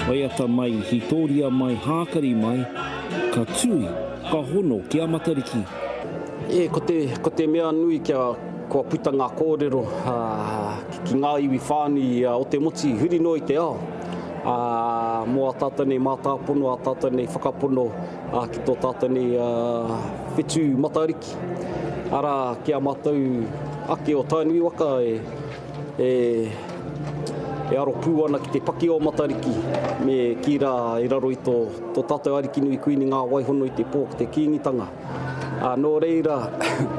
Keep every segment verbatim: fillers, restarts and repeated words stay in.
Waiata mai, hītōria mai, hākari mai, ka tui, ka hono ki a Matariki. E, ko te, ko te mea nui kia kua puta ngā kōrero ki ngā iwi whānui o te motu huri noa i te ao. Mō ā tātou nei mātāpono, ā tātou nei whakapono ki tō tātou nei whetū Matariki. Arā, ki a mātou ake o Tainui waka e, e, e aro pū ana ki te paki o Matariki me kī rā i raro i tō, tō tātou Arikinui Kuini Ngā Waihono i te pō ki te Kīngitanga. Ā, nō reira,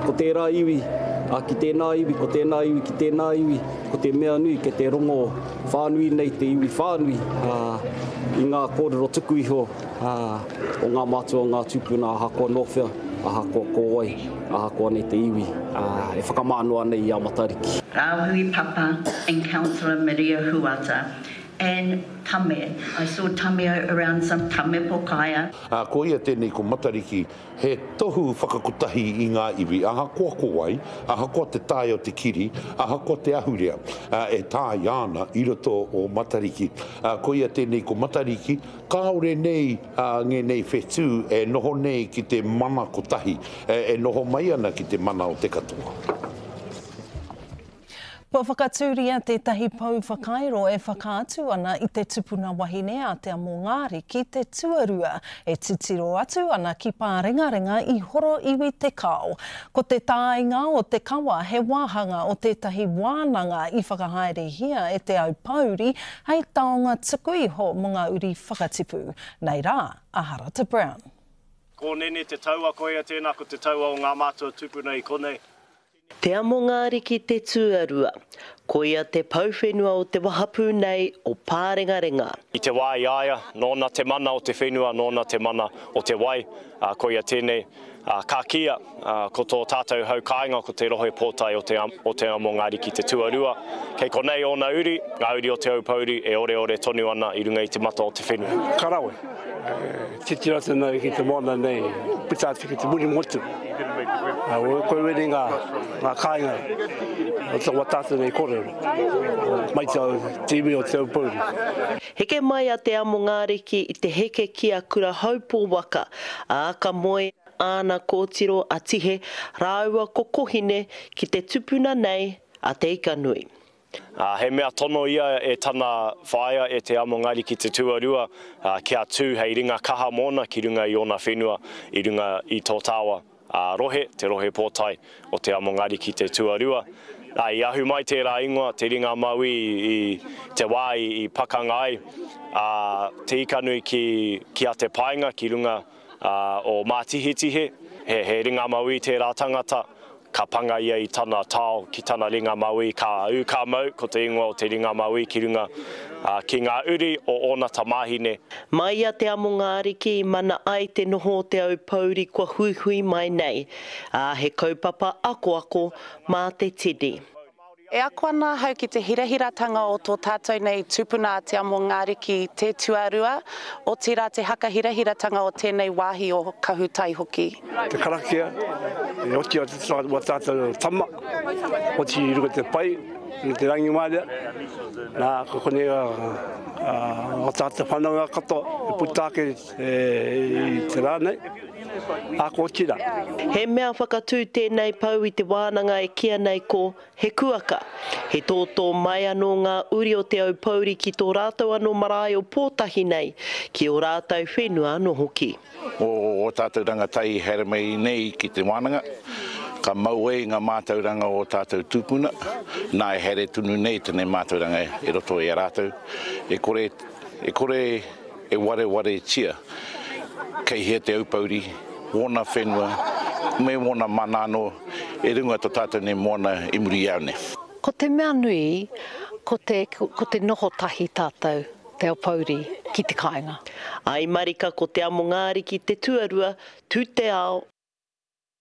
ko tērā iwi, ā, ki tēnā iwi, ko tēnā iwi, ki tēnā iwi, ko te mea nui kei te rongo whānui nei te iwi whānui, ā, i ngā kōrero tuku iho, ā, o ngā mātua, o ngā tūpuna, ahakoa nō whea, ahakoa ko wai, ahakoa nei te iwi, ā, e whakamānoa nei i a Matariki. Rāhui Papa and Councillor Maria Huata and Tame. I saw Tame around some Tame Pokaia. Ā, ko ia tēnei ko Matariki, he tohu whakakotahi i ngā iwi, ahakoa ko wai, ahakoa te tae o te kiri, ahakoa te ahurea, ā, e tāia ana i roto o Matariki. Ā, ko ia tēnei ko Matariki, kāore nei, ā, ngēnei whetū e noho nei ki te mana kotahi, e noho mai ana ki te mana o te katoa. Kua whakatūria tētahi pou whakairo e whakaatu ana i te tupuna wahine a Te Amongāriki te tuarua e titiro atu ana ki Pārengarenga i Horoiwi Te Kao. Ko te tāinga o te kawa he wāhanga o tētahi wānanga i whakahaerehia e Te Aupōuri hei taonga tuku iho mō ngā uri whakatipu. Nei rā a Harata Brown. Ko Nene te taua, koia tēnā ko te taua o ngā mātua tupuna i konei. Te Amongaariki te tuarua, koia te pou whenua o te wahapū nei o Pārengarenga. I te wā i a ia, nōna te mana o te whenua, nōna te mana o te wai, ā, koia tēnei, ā, ka kīia, ā, ko tō tātou hau kāinga ko te rohe pōtae o te, o Te Amongaariki te tuarua. Kei konei ōna uri, ngā uri o Te Aupōuri e oreore tonu ana i runga i te mata o te whenua. Ka rawe. Titiro atu nei ki te moana nei, puta atu ki te Murimotu. Koe wene ngā, ngā kāinga o te wa tātou nei kōrero, mai te, te iwi o Te Aupōuri. Heke mai a Te Amongaariki i te heke ki a Kurahaupō waka, ā, ka moe āna kōtiro a Tihe rāua ko Kohine ki te tupuna nei a Te Ikanui. Ā, he mea tono ia e tana whaea, e Te Amongariki te tuarua, ā, kia tū hei ringa kaha mōna ki runga i ōna whenua, i runga i tō tāua, ā, rohe, te rohe pōtae o Te Amongariki te tuarua. Ā, i ahu mai tērā ingoa, te ringa mauī, i te wā i, i pakanga ai a Te Ikanui ki, ki a Te Paenga, ki runga, ā, o Mātihetihe, he, he ringa mauī tērā tangata, Ka panga ia i tana tao ki tana ringa mauī, ka ū ka mau, ko te ingoa o te ringa mauī ki runga, ā, ki ngā uri o ōna tamāhine. Mai i a Te Amongaariki i mana ai te noho o Te Aupōuri kua huihui mai nei, ā, he kaupapa akoako mā te tini. E ako ana ahau ki te hirahiratanga o tō tātou nei tupuna a Te Amongaariki te tuarua, otirā te hakahirahiratanga o tēnei wāhi o Kahutai hoki. Te karakia, e oti atu wā tātou tama, oti i runga te pai, i runga te rangimāria, nā, ko konei ā tātou whanaunga katoa e puta ake i te rā nei, ā, ko oti rā. He mea whakatū tēnei pou i te wānanga e kīia nei ko He kuaka, he tōtō mai anō ngā uri o Te Aupōuri ki tō rātou anō marae o Pōtahi nei, ki ō rātou whenua anō hoki. O ō tātou rangatahi i haere mai nei ki te wānanga, ka mau ai ngā mātauranga o ō tātou tūpuna, nā e haere tonu nei tēnei mātauranga i roto i a rātou, e kore, e kore e warewaretia kei hea Te Aupōuri, wōna whenua, me wōna mana anō i runga to tātou nei moana i muri i au nei. Ko te mea nui, ko te, ko te noho tahi tātou, Te Aupōuri, ki te kāinga. Ai marika ko Te Amongaariki te tuarua, tu te ao,